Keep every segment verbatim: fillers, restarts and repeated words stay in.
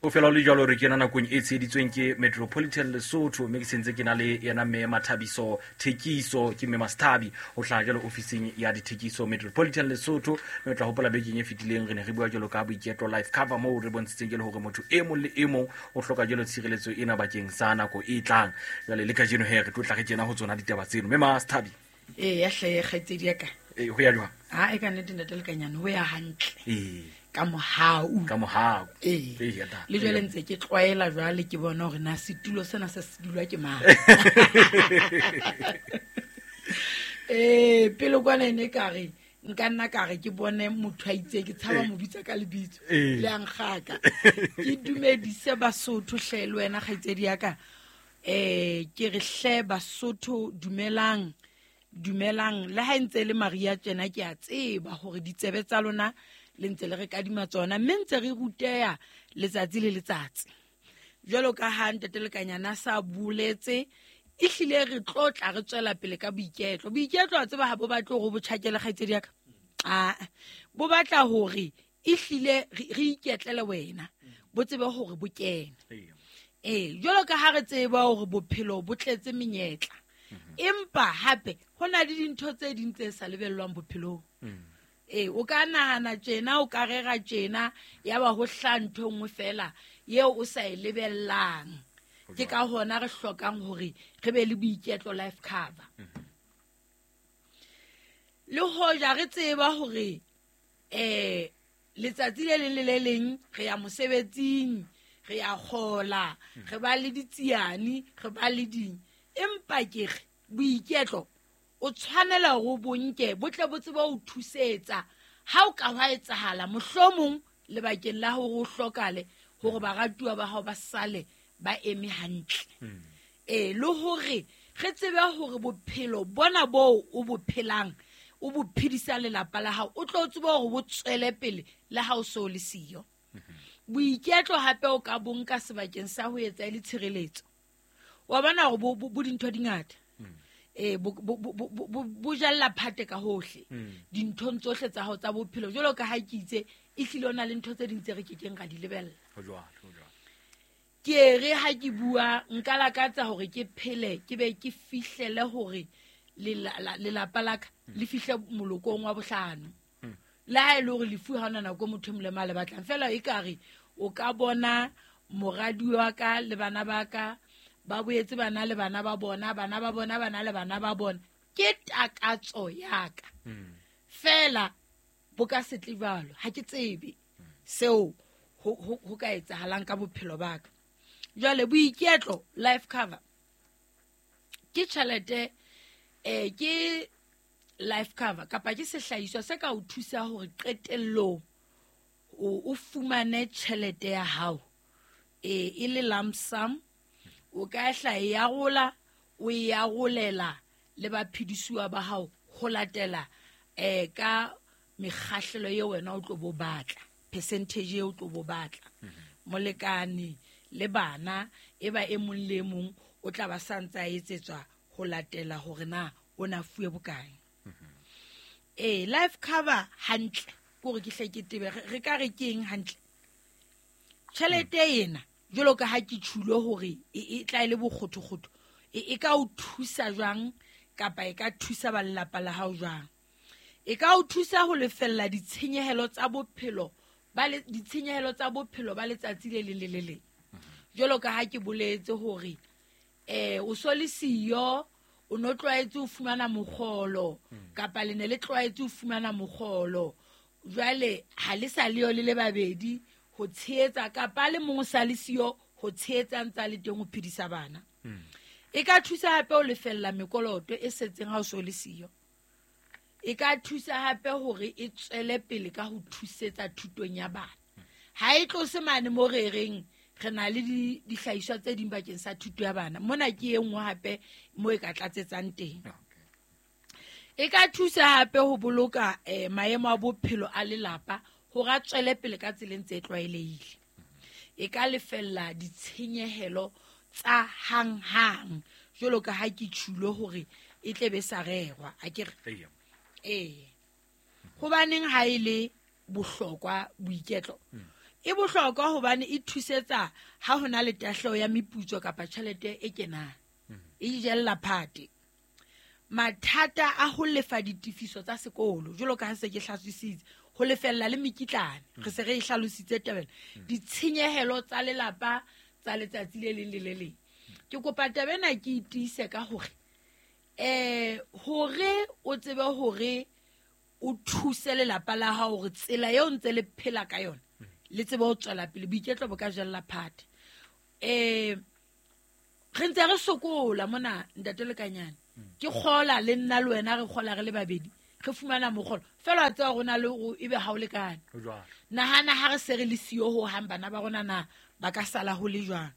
O fela le jwalo re kena nakong e tsheheditsweng ke Metropolitan Lesotho, mme ke sentse ke na le yena mme Mathabiso Thekiso, ke mme Masthabi ho hlaha jwalo ofising ya dithekiso Metropolitan Lesotho. Mme o tla hopola bekeng e fetileng re ne re bua jwalo ka Boiketlo Life Cover, moo re bontshitseng jwalo hore motho e mong le e mong o hloka jwalo tshireletso ena bakeng sa nako e tlang. Jwale le kajeno he re tlo tla re kena ho tsona ditaba tseno. Mme Masthabi, ee ya hle kgaitsedi ya ka, e ho ya jwang? Ha e ka nnete ntate Lekanyane, ho ya hantle ee ka mohau. Ka mohau. Ee. Ee, ya ta. Le jwale ntse ke tlwaela, jwale ke bona hore na setulo sena se se dulwa ke mang. Ee, pele kwana e ne ka re nka nna ka re ke bone motho a itse ke tshaba Ee. mo bitsa ka lebitso Ee. le a nkgaka. Ke dumedise Basotho hle le wena kgaitsedi ya ka. um ke re hle Basotho, dumelang, dumelang. Le ha e ntse e le Maria tjena, ke a tseba hore ditsebe tsa lona le ntse le re kadima tsona, mme ntse re ruteha letsatsi le letsatsi. Jwalo ka ha ntate Lekanyana a sa boletse, ehlile re tlo tla re tswela pele ka boiketlo. Boiketlo a tseba ha bo batle hore bo tjhakele kgaitsedi ya ka, aa bo batla hore ehlile re re iketlele wena, bo tsebe hore bo kene. Ee. Ee, jwalo ka ha re tseba hore bophelo bo tletse menyetla, empa hape ho na le dintho tse ding tse sa lebellwang bophelong. Ee, o ka nahana tjena, o ka rera tjena, ya ba ho hlaha ntho e nngwe fela eo o sa e lebellang. Ke ka hona re hlokang hore re be le Boiketlo Life Cover. Le hoja re tseba hore eh letsatsi le leng le le leng re ya mosebetsing, re ya kgola, re ba le ditsiane, re ba le ding, empa ke re boiketlo o tshwanela hore o bo nke, bo tle bo tsebe ho thusetsa ha o ka hwa etsahala mohlomong lebakeng la hore o hlokale, hore baratuwa ba hao ba sale ba eme hantle. Ee, le hore re tsebe hore bophelo bona boo o bo phelang, o bo phedisa lelapa la hao, o tlo tsebe hore bo tswele pele le ha o so le siyo. Boiketlo hape o ka bo nka sebakeng sa ho etsa e le tshireletso. Wa bona hore bo, bo, bo dintho di ngata. Ee, bo, bo, bo, bo, bo, bo jalla phate ka hohle dinthong tsohle tsa hao tsa bophelo. Jwalo ka ha ke itse, ehlile o na le ntho tse ding tse re kekeng ra di lebella. Ho jwalo, ho jwalo. Ke re ha ke bua, nka lakatsa hore ke phele, ke be ke fihlele hore lela-, la-, lelapa la ka le fihle molokong wa bohlano. Le ha e le hore lefu ha hona nako motho e mong le mang a le batlang, feela ekare o ka bona moradi wa ka le bana ba ka ba boetse bana le bana ba bona, bana ba bona bana le bana ba bona. Ke takatso ya ka. Feela bo ka se tle jwalo, ha ke tsebe seo ho, ho, ho ka etsahalang ka bophelo ba ka. Jwale Boiketlo Life Cover ke tjhelete, eh, ke life cover kapa ke sehlahiswa se ka o thusa hore qetellong o, o fumane tjhelete ya hao, eh, e le lump sum. O ka hla e arola, o e arolela le baphedisuwa ba hao ho latela, eh, ka mekgahlelo eo wena o tlo bo batla, percentage eo o tlo bo batla. Molekane le bana e ba e mong le e mong o tla ba sa ntse a etsetswa ho latela hore na o na fuwe bokae. Ee, life cover hantle ke hore ke hle ke tebe, re, re ka re ke eng hantle? Tjhelete ena jwalo ka ha ke tjhulo hore e, e tla e le bokgothokgotho, e, e ka o thusa jwang kapa e ka thusa ba lelapa la hao jwang? E ka o thusa ho lefella ditshenyehelo tsa bophelo ba le, ditshenyehelo tsa bophelo ba letsatsi le leng le le leng. Jwalo ka ha ke boletse hore, eh, o so le siyo, o no tlwaetse ho fumana mokgolo, kapa le ne le tlwaetse ho fumana mokgolo. Jwale ha le sa leyo le le babedi ho tshehetsa, kapa le mong o sa le siyo ho tshehetsa ntse a le teng ho phedisa bana. E ka thusa hape ho lefella mekoloto e setseng ha o so le siyo. E ka thusa hape hore e tswele pele ka ho thusetsa thutong ya bana. Ha e tlose mane mo re reng re na le di-, dihlahiswa tse ding bakeng sa thuto ya bana. Mona ke e nngwe hape mo e ka tlatsetsang teng. E ka thusa hape ho boloka, eh, maemo a bophelo a lelapa hore a tswele pele ka tseleng tse tlwaelehile. E ka lefella ditshenyehelo tsa hanghang jwalo ka ha ke tjhulo hore e tle be sa rerwa, a ke re? Eya. Ee. Hobaneng ha e le bohlokwa boiketlo? E bohlokwa hobane e thusetsa ha hona le tahleho ya meputso kapa tjhelete e kenang. E jella phate. Mathata a ho lefa ditefiso tsa sekolo, jwalo ka ha se ke hlalositse, ho lefella le mekitlane, re se re e hlalositse tabeng. Ditshenyehelo tsa lelapa tsa letsatsi le leng le le leng. Ke kopa taba ena ke itiise ka hore eh hore o tsebe hore o thuse lelapa la hao hore tsela eo ntse le phela ka yona le tsebe ho tswela pele, boiketlo bo ka jella phate. Eh re ntse re sokola mona ntate Lekanyane, ke kgola le nna le wena re kgola re le babedi, re fumana mokgolo fela wa tseba rona le o ebe ha o lekane. Nahana ha re se re le siyo ho hang bana ba rona na ba ka sala ho le jwang.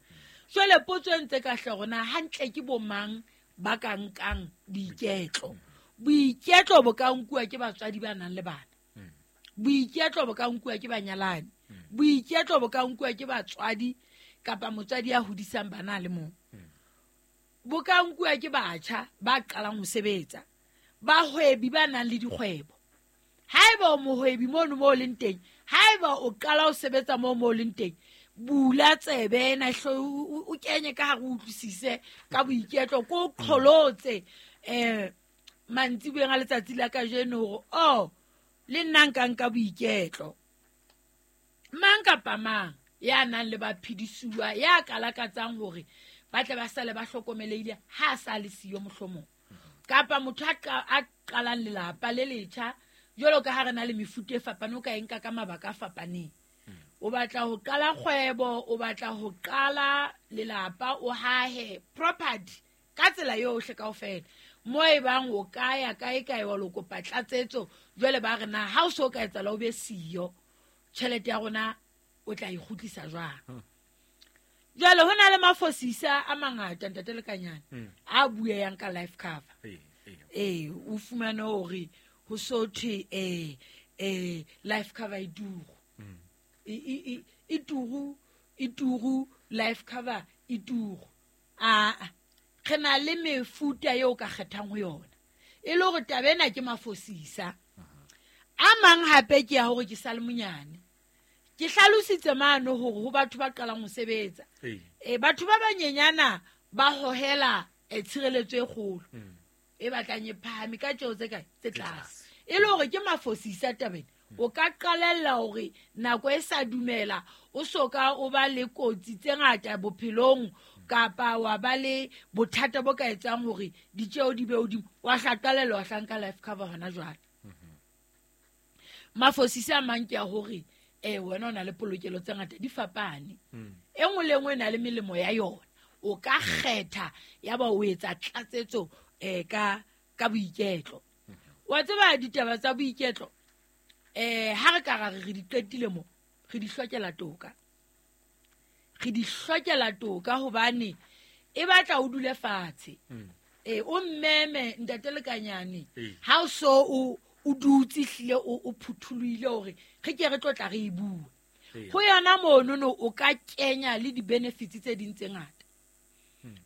Jwale potso e ntse ka hle rona hantle ke bo mang ba ka nkang boiketlo. Boiketlo bo ka nkuwa ke batswadi ba nang le bana, boiketlo bo ka nkuwa ke banyalani, boiketlo bo ka nkuwa ke batswadi kapa motswadi ya hodisang bana le mong, bo ka nkuwa ke batjha ba qalang ho sebetsa, bahwebi ba nang le dikgwebo. Haeba o mohwebi mono mo leng teng, haeba o qala ho sebetsa mo mo leng teng, bula tsebe ena hlo o kenye ka hare o utlwisise ka boiketlo, ko qholotse eh mantsiboeng a letsatsi la kajeno hore oh le nna nka nka boiketlo. Mang kapa mang ya nang le baphedisuwa ya kalakatsang hore ba tle ba sale ba hlokomelehile ha a sa le siyo mohlomong, kapa motho a qalang lelapa le letjha, jwalo ka ha re na le mefuta e fapaneng, o ka e nka ka mabaka a fapaneng. O batla ho qala kgwebo, o batla ho qala lelapa, o hahe property ka tsela yohle kaofela. Mo e bang o ka ya kae kae wa lo kopa tlatsetso, jwale ba re na ha o so ka etsahala o be siyo, tjhelete ya rona o tla e kgutlisa jwang. Jwale ho na le mafosisa a mangata ntate Lekanyane a bueyang ka life cover. Eh o fumane hore ho so thwe eh eh life cover e turu. E e turu, e turu, life cover e turu. A re na le mefuta eo ka kgethang ho yona. E le hore taba ena ke mafosisa. A mang hape ke ya hore ke sa le monyane. Ke hlalositse mano hore ho batho ba qalang ho sebetsa. Eh batho ba banyenyana ba hohela tshireletso e kgolo. E batlang e phahame ka tjeo tse kae tse tlase. E le hore ke mafosisa tabeng. O ka qalella hore nako e sa dumela o soka o ba le kotsi tse ngata bophelong kapa wa ba le bothata bo ka etsang hore ditjeo di be hodimo, wa hla qalella wa hlanka life cover hona jwale. Mafosisa a mang ke a hore eh wena o na le polokelo tse ngata di fapane. E nngwe le nngwe e na le melemo ya yona. O ka kgetha ya ba o etsa tlatsetso eh ka ka boiketlo. Wa tseba ditaba tsa boiketlo eh ha re ka ra re di qetile mo, re di hlokela toka. Re di hlokela toka hobane e batla o dule fatshe. Eh o mmeme ntate Lekanyane ha o so o o dutse hlile o phuthulohile hore re ke re tlotla re e bua. Ho yona mono no o ka kenya le di-benefits tse ding tse ngata.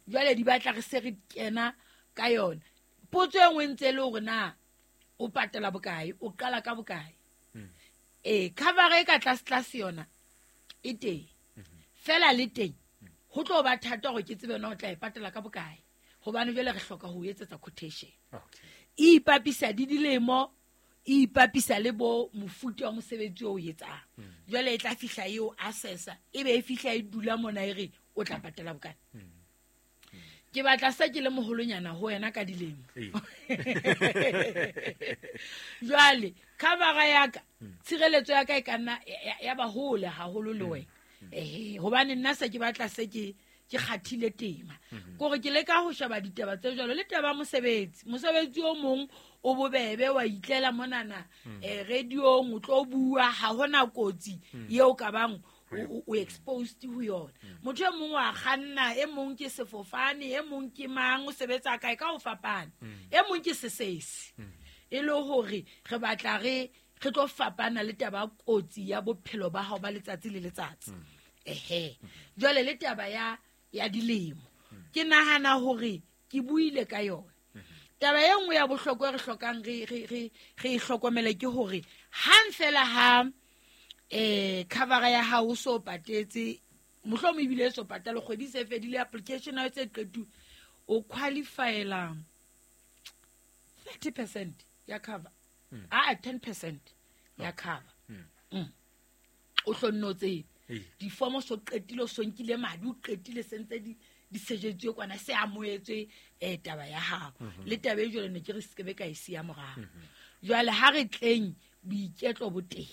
Jwale di batla re se re kena ka yona. Potso e nngwe ntse le hore na o patela bokae, o qala ka bokae. Eh cover e ka tlase tlase yona e teng. Fela le teng ho tlo ba thata hore ke tsebe na o tla e patela ka bokae, hobane jwale re hloka ho etsetsa quotation. E ipapisa di dilemo, e ipapisa le bo mofuta wa mosebetsi o etsang. Jwale e tla fihla eo assessa, e be e fihla e dula mona e re o tla patela bokae. Ke batla sa ke le moholonyana ho wena ka dilemo. Jwale cover ya ka, tshireletso ya ka e ka nna ya ba hole haholo le wena. Eh hobane nna se ke batla se ke ke kgathile tema. Kore ke leka ho sheba ditaba tse jwalo le taba mosebetsi. Mosebetsi o mong o bobebe wa itlela monana eh radiong o tlo bua, ha hona kotsi eo ka bang o exposed ho yona. Motho e mong wa kganna, e mong ke sefofane, e mong ke mang, o sebetsa kae ka ho fapana. E mong ke sesesi. E le hore re batla re re tlo fapana le taba kotsi ya bophelo ba hao ba letsatsi le letsatsi. Ehe. Jwale le taba ya ya dilemo. Ke nahana hore ke buile ka yona. Taba e nngwe ya bohlokwa re hlokang re re re re hlokomele ke hore hang fela ha Eh cover ya hao so patetse mohlomo ebile so patala kgwedi se fedile application ya tse qetu o qualifyela thirty percent ya cover. Mm. Ah ten percent ya cover. Mm. Mm. O hlonno tse Ee. difomo so qetile so nkile madi o qetile sentse di di sejetswe kwana se amoetswe eh taba ya hao. Le taba e jwale ne ke re sekebe ka e siya morao. Jwale ha re tleng boiketlo bo teng.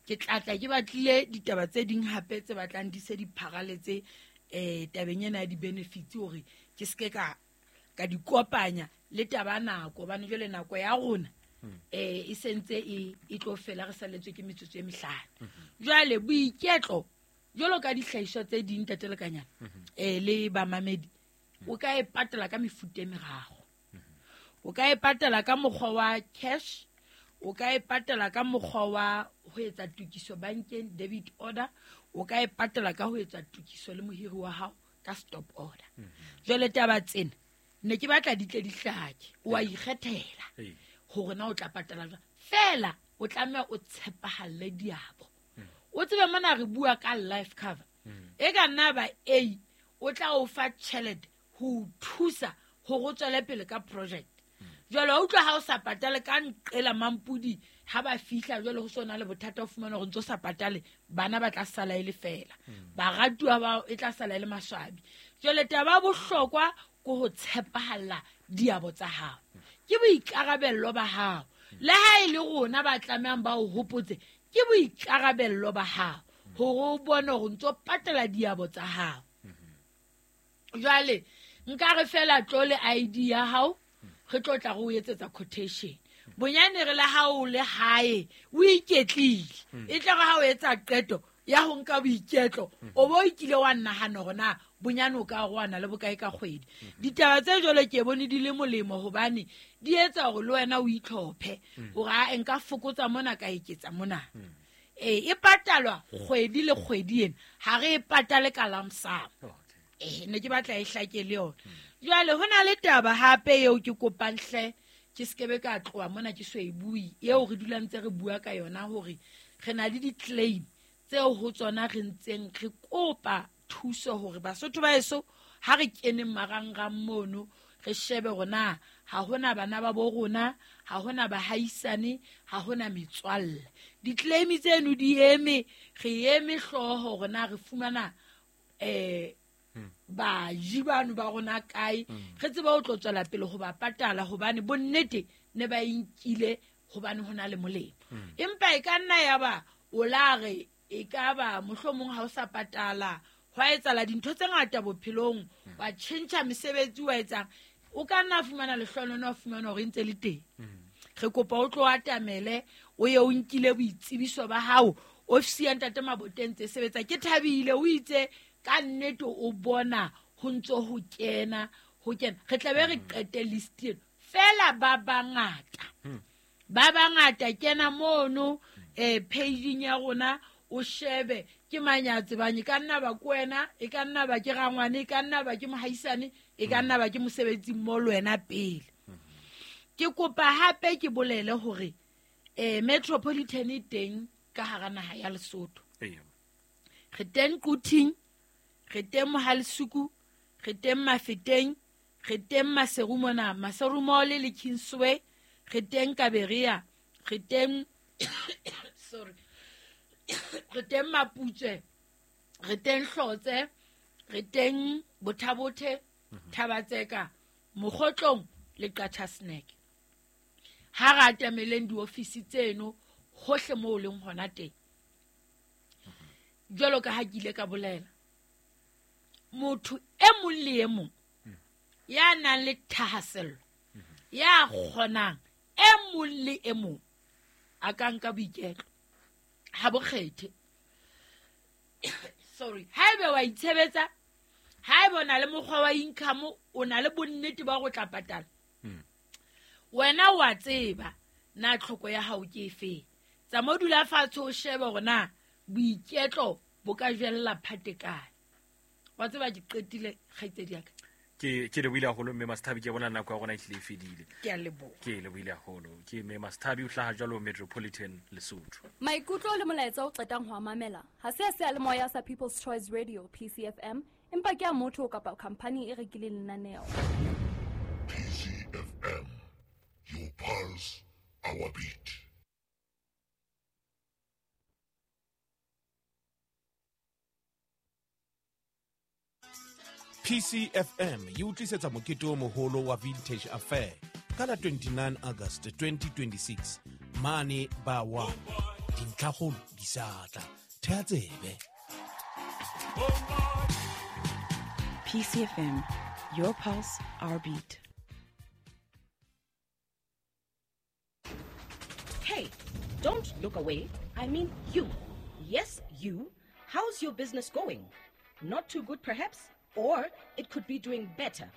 Ke tlatla ke batlile ditaba tse ding hape tse batlang di se di pharaletse eh tabeng ena ya di-benefits hore ke seke ka ka di kopanya le taba nako hobane jwale nako ya rona eh e sentse e e tlo fela re saletswe ke metsotso e mehlano. Jwale boiketlo jwalo ka dihlahiswa tse ding ntate Lekanyana eh le bamamedi o ka e patala ka mefuta e meraro. O ka e patala ka mokgwa wa cash, o ka e patala ka mokgwa wa ho etsa tokiso bankeng debit order, o ka e patala ka ho etsa tokiso le mohiri wa hao ka stop order. Jwale taba tsena ne ke batla di tle di hlake, o a ikgethela Ee. hore na o tla patala jwang. Feela o tlameha o tshepahalle diabo. O tsebe mona re bua ka life cover. E ka nna ba A o tla o fa tjhelete ho o thusa hore o tswele pele ka project. Jwale wa utlwa ha o sa patale ka nqela mampudi ha ba fihla jwale ho sona le bothata o fumana hore ntso sa patale bana ba tla sala e le feela. Baratuwa ba e tla sala e le maswabi. Jwale taba ya bohlokwa ke ho tshepahalla diabo tsa hao. Ke boikarabello ba hao. Le ha e le rona ba tlamehang ba o hopotse ke boikarabello ba hao hore o bone hore ntso patala diabo tsa hao. Jwale nka re fela tlo le I D ya hao re tlo tla re o etsetsa quotation. Bonyane re le ha o le hae o iketlile e tla re ha o etsa qeto ya ho nka boiketlo o bo ikile wa nahana hore na bonyane o ka roana le bokae ka kgwedi. Ditaba tse jwalo ke bone di le molemo hobane di etsa hore le wena o itlhophe hore a nka fokotsa mona ka eketsa mona. Eh e patalwa kgwedi le kgwedi ena ha re e patale ka lump sum. Okay. Eh ne ke batla e hlake le yona. Jwale ho na le taba hape eo ke kopang hle ke sekebe ka tloha mona ke so e bue eo re dulang ntse re bua ka yona hore re na le di-claim tseo ho tsona re ntseng re kopa thuso hore Basotho ba heso ha re keneng marangrang mono re shebe hore na ha hona bana ba bo rona, ha hona bahaisane, ha hona metswalle. Di-claim tseno di eme, re eme hlooho hore na re fumana eh baji bano ba rona kae, re tsebe ho tlo tswela pele ho ba patala hobane bonnete ne ba inkile hobane ho na le molemo. Empa e ka nna ya ba o la re e ka ba mohlomong ha o sa patala hwa etsahala dintho tse ngata bophelong, wa tjhentjha mesebetsi wa etsang, o ka nna fumana lehlohonolo wa fumana hore e ntse le teng. Re kopa o tlo atamele o ye o nkile boitsebiso ba hao ofisi ya ntate Maboteng tse sebetsa. Ke thabile o itse ka nnete o bona ho ntso ho kena ho kena re tla be re qete list eno fela ba bangata ba bangata kena mono eh page ya rona o shebe ke manyatse banye ka nna ba kwena e ka nna ba ke rangwane e ka nna ba ke mohaisane e ka nna ba ke mosebetsi mo le wena pele. Ke kopa hape ke bolele hore eh Metropolitan e teng ka hara naha ya Lesotho. Ee. Re teng Quthing, re teng Mohalesuku, re teng Mafeteng, re teng Maseru mona, Maseru Mall le Kingsway, re teng Kaberia, re teng sorry re teng Maputswe, re teng Hlotse, re teng Bothabothe, Thabatseka, Mokgotlong le Qacha's Nek. Ha re atameleng diofisi tseno hohle moo leng hona teng. Jwalo ka ha ke ile ka bolela, motho e mong le e mong ya nang le thahasello, ya kgonang, e mong le e mong a ka nka boiketlo. Ha bo kgethe. Sorry, haebe wa itshebetsa, haebe o na le mokgwa wa income, o na le bonnete ba go tla patala. Wena wa tseba na tlhoko ya hao ke efe. Tsamao dula fatshe o shebe hore na boiketlo bo ka jella phate kae. Wa tseba ke qetile kgaitsedi ya ka. Ke ke lebohile haholo mme Masthabi, ke bona nako ya rona e hlile e fedile. Ke a leboha. Ke lebohile haholo. Ke mme Masthabi o hlaha jwalo Metropolitan Lesotho. Maikutlo le molaetsa o qetang ho a mamela ha se a seyalemoya sa People's Choice Radio P C F M, empa ke a motho kapa khampani e rekileng lenaneo. P C F M, your pulse, our beat. P C F M e utlisetsa mokete o moholo wa Vintage Affair ka la twenty-nine August twenty twenty-six mane ba wa dintlhakgolo di sa tla. Theha tsebe. P C F M, your pulse, our beat. Hey, don't look away. I mean you. Yes, you. How's your business going? Not too good, perhaps? Or it could be doing better.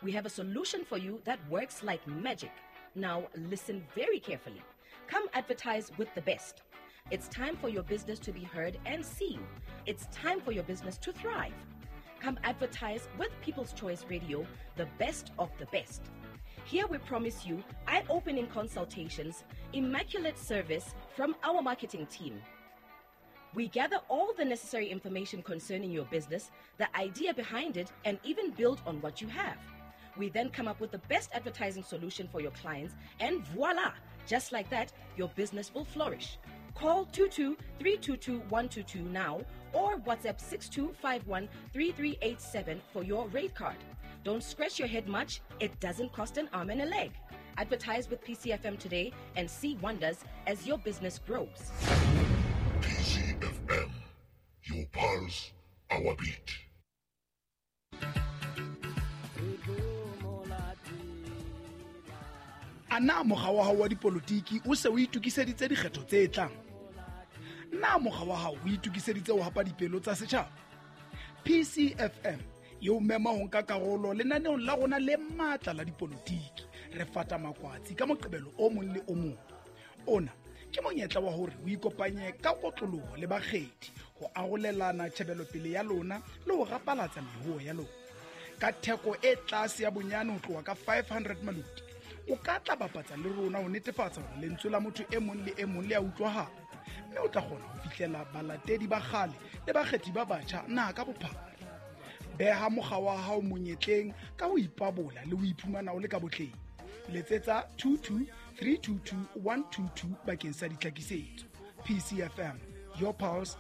We have a solution for you that works like magic. Now listen very carefully. Come advertise with the best. It's time for your business to be heard and seen. It's time for your business to thrive. Come advertise with People's Choice Radio, the best of the best. Here we promise you eye-opening consultations, immaculate service from our marketing team. We gather all the necessary information concerning your business, the idea behind it, and even build on what you have. We then come up with the best advertising solution for your clients, and voila! Just like that, your business will flourish. Call two two three two two one two two now or WhatsApp six two five one three three eight seven for your rate card. Don't scratch your head much. It doesn't cost an arm and a leg. Advertise with P C F M today and see wonders as your business grows. P C F M, your pulse, our beat. A na mokga wa hao wa dipolotiki o se o itokiseditse dikgetho tse tlang? Na mokga wa hao o itokiseditse ho hapa dipelo tsa setjhaba? P C F M e o mema ho nka karolo lenaneong la rona le matla la dipolotiki. Re fata makwatsi ka Moqebelo o mong le o mong. Ona ke monyetla wa hore o ikopanye ka kotloloho le bakgethi ho arolelana tjhebelopele ya lona le ho rapalatsa mehuo ya lona. Ka theko e tlase ya bonyane ho tloha ka five hundred maluti, o ka tla bapatsa le rona ho netefatsa hore lentswe la motho e mong le e mong le a utlwahala, mme o tla kgona ho fihlela balatedi ba kgale le bakgethi ba batjha naha ka bophara. Beha mokga wa hao monyetleng ka ho ipabola le ho iphumana o le ka botleng. Letsetsa two two three two two one two two bakeng sa ditlhakisetso. P C F M, your pulse,